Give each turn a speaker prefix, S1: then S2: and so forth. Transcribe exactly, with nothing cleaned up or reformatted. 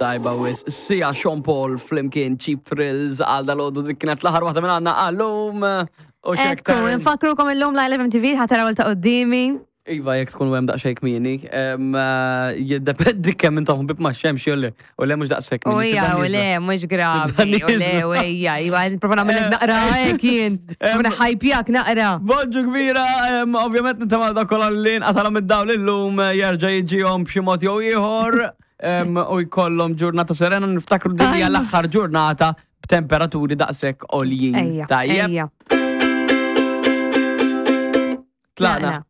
S1: Tajba wisq, Sia, Sean Paul flimkien, Cheap Thrills għal dalgħodu. Dik kienet l-aħħar waħda minn għandna għallum. U
S2: Ekku, nfakkrukom illum Live M T V ħa taraw ta' qudiemi.
S1: Iva, jekk tkun hemm daqsxejn kmieni, em, eh, jiddependi kemm intom ħbieb ma' xemx jew le, u le mhux daqshekk
S2: U
S1: kmieni.
S2: ija,
S1: Tibda
S2: u le,
S1: nieżla.
S2: mhux gravi.
S1: Tibda
S2: U le,
S1: nieżla.
S2: u ija, iva, nipprova nagħmel naqra hekk jien. Nipprova ħajpjak naqra.
S1: Bonġu kbira, em, ovvjament nittama dak kollha li nqatalhom id-dawl illum eh, jerġa' jiġihom b'xi mod jew ieħor em, u jkollhom ġurnata serena. Niftakru din hija
S2: Ajma.
S1: l-aħħar ġurnata b'temperaturi daqshekk għoljin.
S2: Ejja,
S1: Tajjeb,
S2: ejja.
S1: tlaqna.